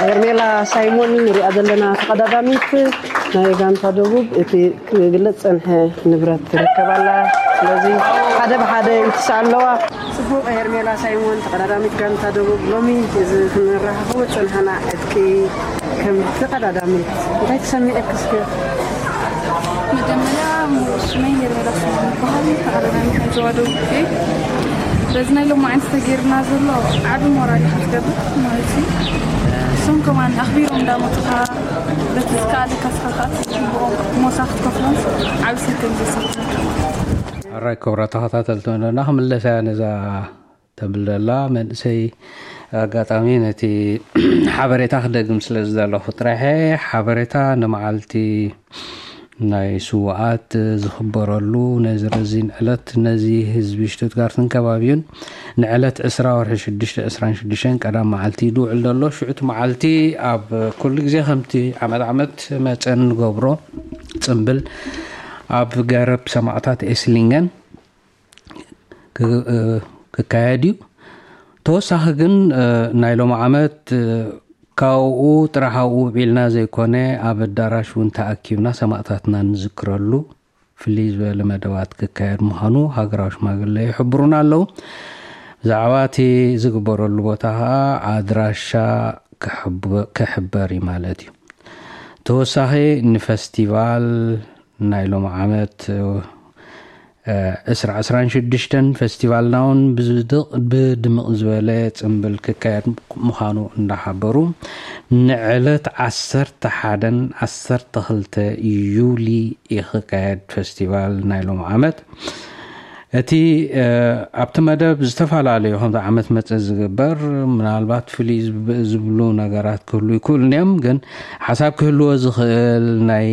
ሄርሜላ ሳይሞን ንሪኣ ዘለና ተቐዳዳሚት ናይ ጋንታ ደቡብ፣ እቲ ክግለጽ ጸንሐ ንብረት ትርከብ ኣላ። ስለዚ ሓደ ብሓደ ይትስኣ ኣለዋ። ጽቡቕ። ሄርሜላ ሳይሞን፣ ተቐዳዳሚት ጋንታ ደቡብ፣ ሎሚ እዚ ክንራኸቦ ዝጸንሐና ዕጥቂ ከም ተቐዳዳሚት እንታይ ተሰሚዑኪ እስከ? መጀመርያ፣ ሽመይ ሄርሜላ ስዩም ይበሃል። ተቐዳዳሚት ናይ ዞባ ደቡብ እየ። በዚ ናይ ሎማዓንቲ ተገይርና ዘሎ ዓቢ ሞራል እዩ ክትገብር ማለት እዩ። እሶም ከማን ኣኽቢሮም እንዳመጹኻ፣ በቲ ዝከኣለካ ስኻ ከኣ ጽቡቖም ሞሳ ክትከፍሎም ዓቢ ሰብ ከም ዘሰብካ። ሕራይ ክቡራት ተኸታተልቲ መደብና፣ ክምለሳ እያ ነዛ ተብል ዘላ መንእሰይ። ኣጋጣሚ ነቲ ሓበሬታ ክደግም ስለ ዝደለኹ ጥራሕ፣ ሓበሬታ ንመዓልቲ ናይ ስውኣት ዝኽበረሉ ነዚ ረዚን ዕለት፣ ነዚ ህዝቢ ሽቱትጋርትን ከባቢኡን ንዕለት ዕስራ ወርሒ ሽዱሽተ ዕስራን ሽዱሽተን ቀዳም መዓልቲ እዩ ዝውዕል ዘሎ። ሽዑ እቲ መዓልቲ ኣብ ኩሉ ግዜ ከምቲ ዓመት ዓመት መጸ እንገብሮ ጽምብል ኣብ ገረብ ሰማእታት ኤስሊንገን ክ-፣ እ፣ ክካየድ እዩ። ተወሳኺ ግን፣ እ፣ ናይ ሎሚ ዓመት፣ እ፣ ካብኡ ጥራሕ ኣብኡ ውዒልና ዘይኮነ፣ ኣብ ኣዳራሽ እውን ተኣኪብና ሰማእታትና ንዝክረሉ ፍልይ ዝበለ መደባት ክካየድ ምዃኑ ሃገራዊ ሽማግለ ይሕብሩና ኣለዉ። ብዛዕባ እቲ ዝግበረሉ ቦታ ኸዓ ኣድራሻ ክሕበ-፣ ክሕበር እዩ ማለት እዩ። ተወሳኺ ንፈስቲቫል ናይ ሎሚ ዓመት፣ እ፣ ዕስራ ዕስራን ሽዱሽተን ፈስቲቫልና እውን ብዝድቕ-፣ ብድምቕ ዝበለ ጽምብል ክካየድ ምዃኑ እንዳሓበሩ፣ ንዕለት ዓሰርተ ሓደን ዓሰርተ ክልተ ዩሊ እዩ ክካየድ ፈስቲቫል ናይ ሎሚ ዓመት። እቲ፣ እ፣ ኣብቲ መደብ ዝተፈላለዩ ከምዚ ዓመት መጸ ዝግበር ምናልባት ፍልይ ዝብ-፣ ዝብሉ ነገራት ክህሉ ይክእሉ እዮም፣ ግን ሓሳብ ክህልዎ ዝኽእል ናይ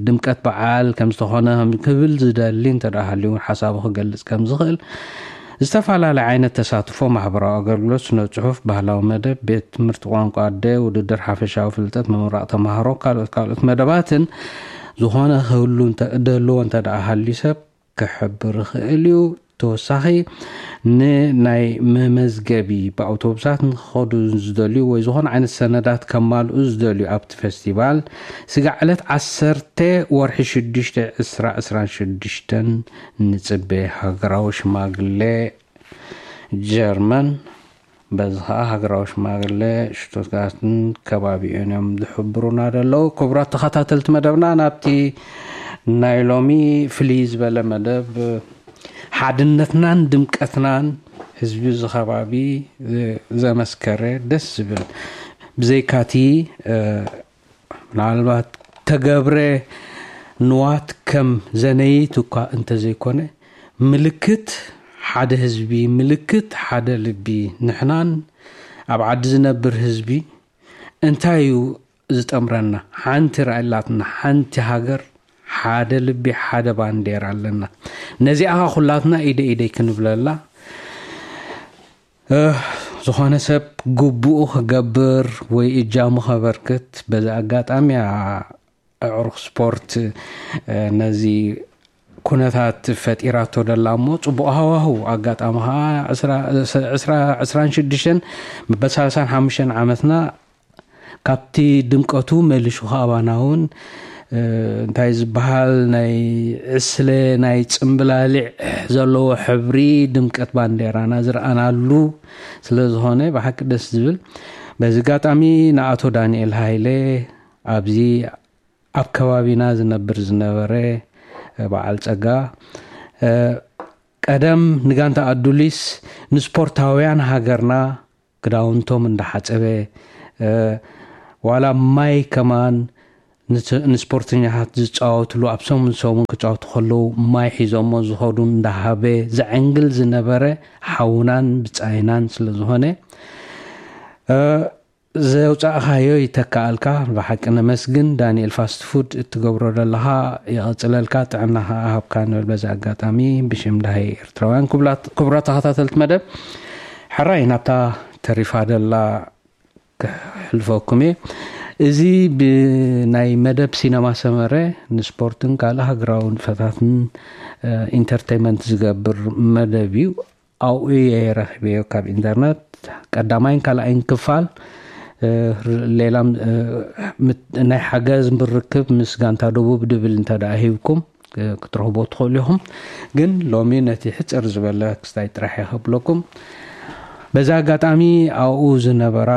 ድምቀት በዓል ከም ዝተኾነ ከም ክብል ዝደሊ እንተ ደኣ ሃልዩ እውን ሓሳቡ ክገልጽ ከም ዝኽእል፣ ዝተፈላለየ ዓይነት ተሳትፎ፣ ማሕበራዊ ኣገልግሎት፣ ስነ ጽሑፍ፣ ባህላዊ መደብ፣ ቤት ትምህርቲ ቋንቋ ኣደ፣ ውድድር ሓፈሻዊ ፍልጠት፣ ምምራቕ ተማሃሮ፣ ካልኦት ካልኦት መደባትን ዝኾነ ክህሉ እንተ-፣ ደልዎ እንተ ደኣ ሃልዩ ሰብ ክሕብር ይኽእል እዩ። ተወሳኺ ንናይ መመዝገቢ ብኣውቶቡሳት ንክኸዱ ዝደልዩ ወይ ዝኾነ ዓይነት ሰነዳት ከማልኡ ዝደልዩ ኣብቲ ፈስቲቫል ስጋዕ ዕለት ዓሰርተ ወርሒ ሽዱሽተ ዕስራ ዕስራን ሽዱሽተን ንጽበ። ሃገራዊ ሽማግለ ጀርመን፣ በዚ ኸዓ ሃገራዊ ሽማግለ ሽቱትጋርትን ከባቢኡን እዮም ዝሕብሩና ዘለዉ። ክቡራት ተኸታተልቲ መደብና፣ ናብቲ ናይ ሎሚ ፍልይ ዝበለ መደብ ሓድነትናን ድምቀትናን ህዝቢ እዚ ከባቢ ዘመስከረ ደስ ዝብል፣ ብዘይካቲ፣ እ፣ ምናልባት ተገብረ ንዋት ከም ዘነይት እኳ እንተዘይኮነ፣ ምልክት ሓደ ህዝቢ፣ ምልክት ሓደ ልቢ፣ ንሕናን ኣብ ዓዲ ዝነብር ህዝቢ እንታይ እዩ ዝጠምረና? ሓንቲ ራእይ ኣላትና፣ ሓንቲ ሃገር፣ ሓደ ልቢ፣ ሓደ ባንዴራ ኣለና። ነዚኣ ኸዓ ኩላትና ኢደ ኢደይ ክንብለላ፣ እ፣ ዝኾነ ሰብ ግቡኡ ክገብር ወይ እጃሙ ከበርክት በዚ ኣጋጣሚ እያ ኣዕሩኽ ስፖርት፣ እ፣ ነዚ ኩነታት ፈጢራቶ ደላ እሞ፣ ጽቡቕ ሃዋህው። ኣጋጣሚ ኸዓ ዕስራ፣ ዕስራ፣ ዕስራን ሽዱሽተን መበል ሰላሳን ሓሙሽተን ዓመትና ካብቲ ድምቀቱ መሊሹ ኸኣ ኣባና እውን፣ እ፣ እንታይ ዝበሃል ናይ ዕስለ፣ ናይ ጽምብላሊዕ ዘለዎ ሕብሪ ድምቀት ባንዴራና ዝረኣናሉ ስለ ዝኾነ ብሓቂ ደስ ዝብል። በዚ ኣጋጣሚ ንኣቶ ዳንኤል ሃይለ፣ ኣብዚ ኣብ ከባቢና ዝነብር ዝነበረ በዓል ጸጋ፣ እ፣ ቀደም ንጋንታ ኣዱሊስ ንስፖርታውያን ሃገርና ክዳውንቶም እንዳሓጸበ፣ እ፣ ዋላ ማይ ከማን ንስ-፣ ንስፖርተኛታት ዝጻወትሉ፣ ኣብ ሰሙን ሰሙን ክጻወቱ ከለዉ ማይ ሒዞሞ ዝኸዱ እንዳሃበ ዘዐንግል ዝነበረ ሓውናን ብጻይናን ስለ ዝኾነ፣ እ፣ ዘውጻእካዮ ይተካኣልካ። ብሓቂ ነመስግን። ዳንኤል ፋስት ፉድ፣ እትገብሮ ዘለኻ ይቐጽለልካ፣ ጥዕና ከኣ ሃብካ ንብል በዚ ኣጋጣሚ ብሽም ዳሃይ ኤርትራውያን። ክቡላት-፣ ክቡራት ተኸታተልቲ መደብ፣ ሕራይ ናብታ ተሪፋ ደላ ክሕልፈኩም እየ። እዚ ብናይ መደብ ሲነማ ሰመረ ንስፖርትን ካልእ ሃገራዊ ንጥፈታትን፣ እ፣ ኢንተርቴይመንት ዝገብር መደብ እዩ። ኣብኡ እየ ረኺበዮ ካብ ኢንተርነት ቀዳማይን ካልኣይን ክፋል። ሌላም ናይ ሓገዝ ብርክብ ምስ ጋንታ ደቡብ ድብል እንተ ደኣ ሂብኩም ክትረኽቦ ትኽእሉ ኢኹም። ግን ሎሚ ነቲ ሕፅር ዝበለ ክስታይ ጥራሕ እየ ከብለኩም። በዚ ኣጋጣሚ ኣብኡ ዝነበራ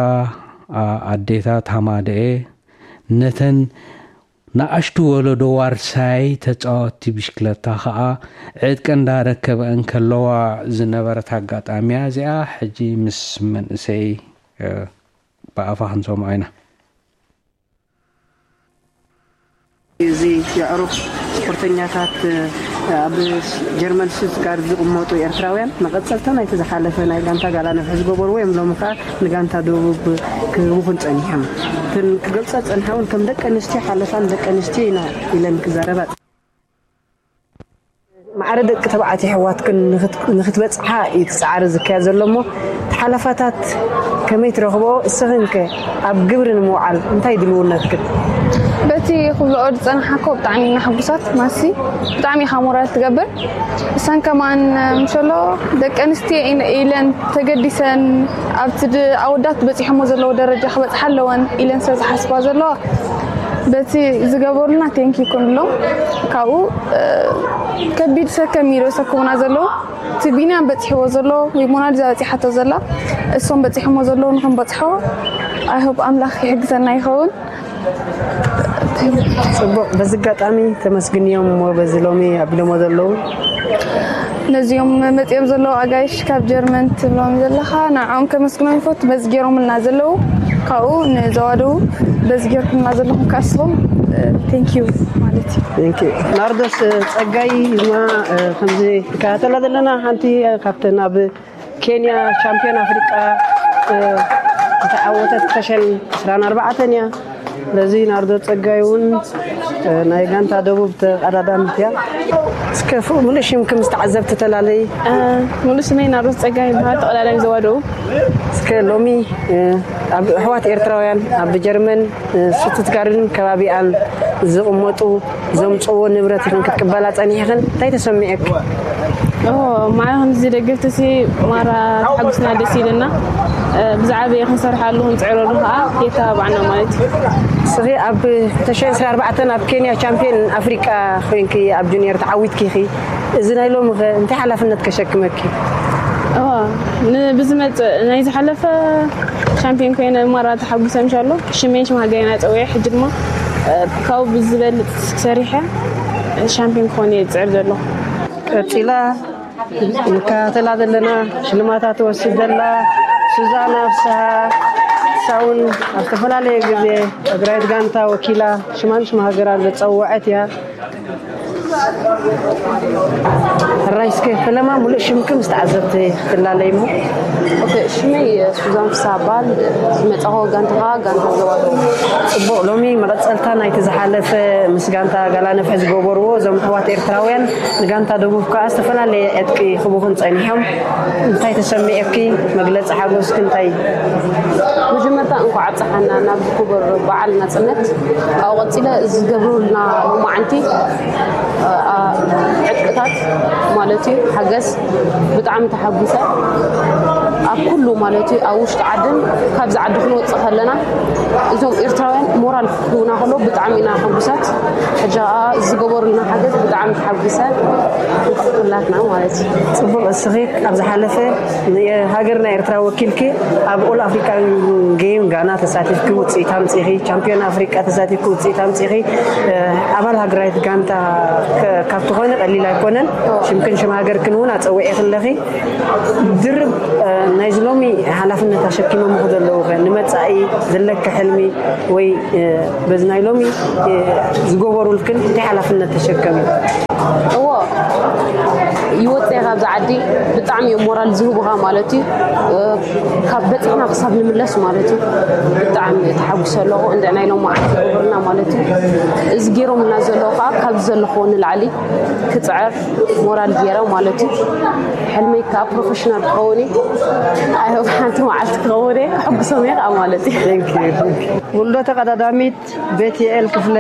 ኣዴታት ሃማደኤ ነተን ንኣሽቱ ወለዶ ዋርሳይ ተጻወትቲ ብሽክለታ ከኣ ዕጥቂ እንዳረከበ እንከለዋ ዝነበረት ኣጋጣሚያ እዚኣ ሕጂ ምስ መንእሰይ ብኣፋ ክንሰምዖ ኢና። እዚ የዕሩኽ ስፖርተኛታት ኣብ ጀርመን ስቱትጋርት ዝቕመጡ ኤርትራውያን መቐጸልታ ናይቲ ዝሓለፈ ናይ ጋንታ ጋላ ነፍሒ ዝገበርዎ እዮም። ሎሚ ከኣ ንጋንታ ደቡብ ክህቡ ክንጸኒሖም። እተን ክገልጻ ዝጸንሓ እውን ከም ደቂ ኣንስትዮ ሓለፋ ንደቂ ኣንስትዮ ኢና ኢለን ክዛረባ። ማዕረ ደቂ ተባዕትዮ ኣሕዋትክን ንክትበጽሓ እዩ እቲ ጻዕሪ ዝካየድ ዘሎ እሞ እቲ ሓለፋታት ከመይ ትረኽብኦ? እስኽን ከ ኣብ ግብሪ ንምውዓል እንታይ ድልውነትክን? በቲ ክብልኦ ዝጸናሓኮ ብጣዕሚ ኢና ሕጉሳት ማሲ ብጣዕሚ ኢኻ ሞራል ትገብር። እሰን ከማን ምሸሎ ደቂ ኣንስትዮ ኢለን ተገዲሰን ኣብቲ ኣወዳት በጺሖሞ ዘለዎ ደረጃ ክበጽሓ ኣለወን ኢለን ስለ ዝሓስባ ዘለዋ በቲ ዝገበሩልና ቴንኪ ክንብሎም ካብኡ ከቢድ ሰከም እዩ ዘሰክሙና ዘለዉ እቲ ቢንያም በፂሕዎ ዘሎ ወይ ሞናሊዛ በፂሓቶ ዘላ እሶም በፂሖሞ ዘለዉ ንክንበፅሖ ኣይሆብ ኣምላኽ ይሕግዘና ይኸውን። ፅቡቅ በዚ ኣጋጣሚ ተመስግንዮም እሞ በዚ ሎሚ ኣቢሎሞ ዘለዉ ነዚኦም መፂኦም ዘለዉ ኣጋይሽ ካብ ጀርመን ትብሎም ዘለኻ ንዕኦም ከመስግኖም ይፈቱ በዚ ገይሮምልና ዘለዉ ካብኡ ንዘዋደዉ በዚ ገይርኩምና ዘለኹም ካስኹም thank you ማለት እዩ። Thank you። ናርዶስ ጸጋይ ድማ ከምዚ ንከታተላ ዘለና ሓንቲ ካብተን ኣብ ኬንያ ቻምፒዮን ኣፍሪቃ ዝተዓወተት ፈሸል ዕስራን ኣርባዕተን እያ። ስለዚ ናርዶ ጸጋይ እውን ናይ ጋንታ ደቡብ ተቐዳዳሚት እያ። እስከ ፍቕ ምሉእ ሽምኪ ምስ ተዓዘብቲ ተላለይ። ሙሉእ ስመይ ናርዶ ጸጋይ ይበሃል። ተቐዳዳሚ ዞባ ደቡብ። እስከ ሎሚ ኣብ ኣሕዋት ኤርትራውያን ኣብ ጀርመን ስቱትጋርትን ከባቢኣን ዝቕመጡ ዘምፅዎ ንብረት ኢኽን ክትቅበላ ፀኒሕኽን እንታይ ተሰሚዑኪ? ማዕረ ከምዚ ደገፍትሲ ማራ ተሓጉስና ደስ ኢልና ብዛዕባ ክንሰርሓሉ ክንፅዕረሉ ከዓ የተባባዕና ማለት እዩ። እስኺ ኣብ ክልተ ሺሕ ዕስራን ኣርባዕተን ኣብ ኬንያ ቻምፒዮን ኣፍሪቃ ኮይንኪ ኣብ ጁኒየር ተዓዊትኪ ኢኺ። እዚ ናይ ሎሚ ከ እንታይ ሓላፍነት ከሸክመኪ? ንብዝመፅእ ናይ ዝሓለፈ ቻምፒዮን ኮይነ ማራ ተሓጉሰ ምሻሎ ሽሜን ሽም ሃገሬና ፀዊዐ ሕጂ ድማ ካብኡ ብዝበልፅ ሰሪሐ ሻምፒዮን ክኾን እየ ዝፅዕር ዘለኹ። ቀፂላ ንከታተላ ዘለና ሽልማታ ትወስድ ዘላ ሱዛና ፍስሃ ሳውን ኣብ ዝተፈላለየ ግዜ ትግራይት ጋንታ ወኪላ ሽማን ሽም ሃገራ ዘፀወዐት እያ። ሕራይ እስከ ፈለማ ሙሉእ ሽምኪ ምስ ተዓዘብቲ ክትላለይ እሞ። ኦኬ፣ ሽመይ ሱዛን ፍስሃ እበሃል። ዝመጻኹ ጋንታ ከኣ ጋንታ ዞባ ደቡብ። ጽቡቕ፣ ሎሚ መቐጸልታ ናይቲ ዝሓለፈ ምስ ጋንታ ጋላ ነፍሒ ዝገበርዎ እዞም ኣሕዋት ኤርትራውያን ንጋንታ ደቡብ ከኣ ዝተፈላለየ ዕጥቂ ክቡኽን ጸኒሖም። እንታይ ተሰሚዑኪ? መግለጺ ሓጎስኪ እንታይ እዩ? መጀመርታ እንኳዕ ኣብፀሓና ናብዚ ክቡር በዓል ናፅነት። ካብኡ ቀፂለ ዝገብሩልና ሎማዓንቲ ዕጥቅታት ማለት እዩ ሓገዝ ብጣዕሚ ተሓጒሰ። ኣብ ኩሉ ማለት እዩ ኣብ ውሽጢ ዓድን ካብዚ ዓዲ ክንወፅእ ከለና እዞም ኤርትራውያን ሞራል ክህቡና ከለዉ ብጣዕሚ ኢና ሕጉሳት። ሕጂ ከዓ ዝገበሩልና ሓገዝ ብጣዕሚ ተሓጒሰ። እንኳዕ ኩላትና ማለት እዩ። ፅቡቕ እስኺ ኣብ ዝሓለፈ ንሃገርና ኤርትራ ወኪልኪ ኣብ ኦል ኣፍሪካን ጌም ጋና ተሳቲፍኪ ውፅኢት ኣምፂኺ፣ ቻምፒዮን ኣፍሪቃ ተሳቲፍኪ ውፅኢት ኣምፂኺ፣ ኣባል ሃገራዊት ጋንታ ካብ ትኾኒ ቀሊል ኣይኮነን። ሽምክን ሽም ሃገርክን እውን ኣፀዊዕኺ ኣለኺ። ድርብ ናይዚ ሎሚ ሓላፍነት ኣሸኪሞምኺ ዘለዉ ኸ ንመፃኢ ዘለኪ ሕልሚ ወይ በዚ ናይ ሎሚ ዝገበሩልክን እንታይ ሓላፍነት ተሸከሚ? እዎ ይወፅእ እየ ካብዚ ዓዲ። ብጣዕሚ እዮም ሞራል ዝህቡኻ ማለት እዩ። ካብ በፂሕና ክሳብ ንምለስ ማለት እዩ። ብጣዕሚ ተሓጒሰ ኣለኹ እንድዒ ናይ ሎማዓንቲ ዝገበሩልና ማለት እዩ። እዚ ገይሮምልና ዘለዉ ከዓ ካብዚ ዘለኽዎ ንላዕሊ ክፅዕር ሞራል ገይረ ማለት እዩ። ሕልመይ ከዓ ፕሮፌሽናል ክኸውን እዩ። ኣይ ሆፕ ሓንቲ መዓልቲ ክኸውን እየ። ከሐጉሶም እየ ከዓ ማለት እዩ። ውልዶ ተቐዳዳሚት ቤትኤል ክፍለ።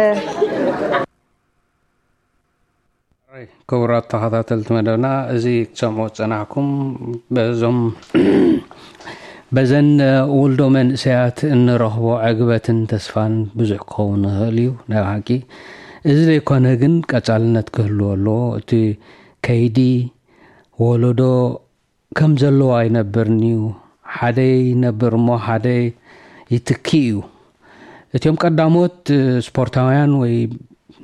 ክቡራት ተኸታተልቲ መደብና፣ እዚ ክትሰምዑ ዝጸናሕኩም በዞም በዘን ውልዶ መንእሰያት እንረኽቦ ዕግበትን ተስፋን ብዙሕ ክኸውን ይኽእል እዩ። ናይ ሓቂ እዚ ዘይኮነ ግን ቀጻልነት ክህልዎ ኣለዎ። እቲ ከይዲ ወለዶ ከም ዘለዎ ኣይነብርን እዩ። ሓደ ይነብር እሞ ሓደ ይትኪ እዩ። እቲኦም ቀዳሞት ስፖርታውያን ወይ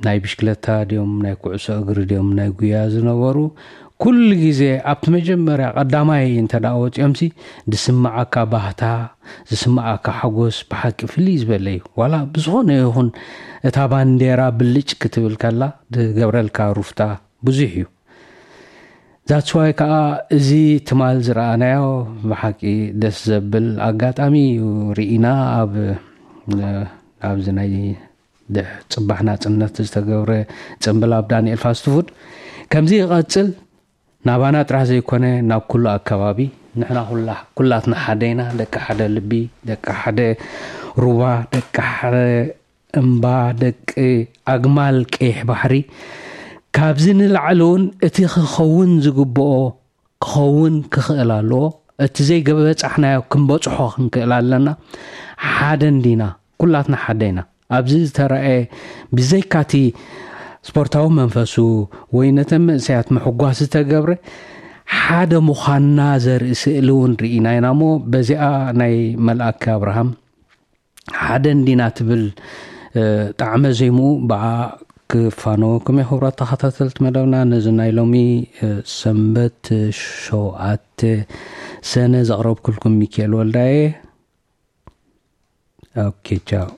ናይ ብሽክለታ ድዮም ናይ ኩዕሶ እግሪ ድዮም ናይ ጉያ ዝነበሩ፣ ኩሉ ግዜ ኣብቲ መጀመርያ ቀዳማይ እንተ ደኣ ወፂኦምሲ ዝስምዓካ ባህታ፣ ዝስምዓካ ሓጎስ ብሓቂ ፍልይ ዝበለ እዩ። ዋላ ብዝኾነ ይኹን እታ ባንዴራ ብልጭ ክትብል ከላ ዝገብረልካ ሩፍታ ብዙሕ እዩ። ዛትስዋይ ከዓ እዚ ትማል ዝረኣናዮ ብሓቂ ደስ ዘብል ኣጋጣሚ እዩ። ርኢና ኣብ ኣብዚ ናይ ጽባሕ ናጽነት ዝተገብረ ጽምብል ኣብ ዳንኤል ፋስትፉድ ከምዚ ይቐጽል፣ ናባና ጥራሕ ዘይኮነ ናብ ኩሉ ኣከባቢ ንሕና ኩላትና ሓደ ኢና። ደቂ ሓደ ልቢ፣ ደቂ ሓደ ሩባ፣ ደቂ ሓደ እምባ፣ ደቂ ኣግማል ቀይሕ ባሕሪ። ካብዚ ንላዕሊ እውን እቲ ክኸውን ዝግብኦ ክኸውን ክኽእል ኣለዎ። እቲ ዘይገበጻሕናዮ ክንበጽሖ ክንክእል ኣለና። ሓደ እንዲና፣ ኩላትና ሓደ ኢና። ኣብዚ ዝተረኣየ ብዘይካቲ ስፖርታዊ መንፈሱ ወይ ነተን መንእሰያት ምሕጓስ ዝተገብረ ሓደ ምዃንና ዘርኢ ስእሊ እውን ርኢና ኢና እሞ በዚኣ ናይ መልኣከ ኣብርሃም ሓደ እንዲና ትብል ጣዕመ ዜምኡ ብኣ ክፋነወኩም እየ። ክቡራት ተኸታተልቲ መደብና ነዚ ናይ ሎሚ ሰንበት ሸውዓተ ሰነ ዘቕረብኩልኩም ሚካኤል ወልዳየ። ኦኬ ቻው።